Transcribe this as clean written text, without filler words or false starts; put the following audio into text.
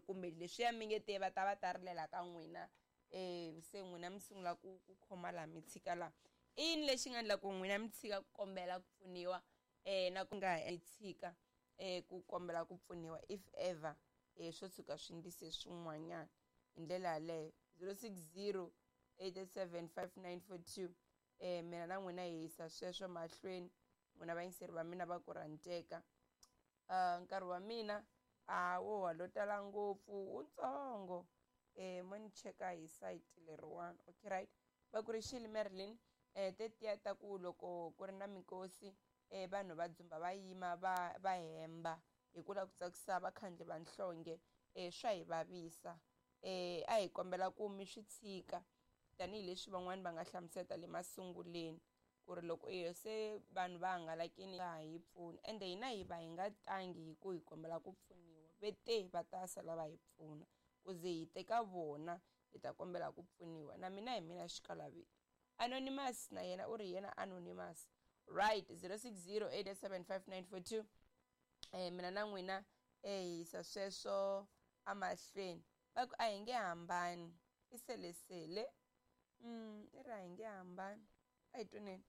Kumbe leswiya mi nge te va ta va ta rilela ka n'wina, se n'wina mi sungula ku khoma laha mi tshika laha. I yini lexi nga endla ku n'wina mi tshika ku kombela ku pfuniwa, na ku nga mi tshika ku kombela ku pfuniwa if ever swo tshuka swi ndlise swin'wanyana hi ndlela yaleyo? 060 87 5942. Mina na n'wina hi yisa sweswo mahlweni, n'wina vayingiseri va mina va ku rhandzeka. Nkarhi wa mina a wo wa lo tala ngopfu, wutsongo. Mo ni cheka hi site leriwani. Okay, right, va ku ri xili Marilyn, tetiya ta ku loko ku ri na minkosi, vanhu va dzumba, va yima, va hemba hi ku lava ku tsakisa vakhandli va nhlonge, swa hi vavisa. A hi kombela ku mi swi tshika, tanihileswi van'wani va nga hlamuseta le masunguleni ku ri loko iyo se vanhu va hangalakini nga ha hi pfuni, ende hina hi va hi nga tangi hi ku hi kombela ku pfuniwa, ve te va ta sala va hi pfuna ku ze hi teka vona hi ta kombela ku pfuniwa. Na mina hi mina xikalavito. Anonymous na yena u ri yena anonymous. Right, 060 887 5942. Mina na n'wina hi yisa sweswo amahlweni. Va ku a hi nge hambani, i selesele. I ri a hi nge hambani, a hi twaneni.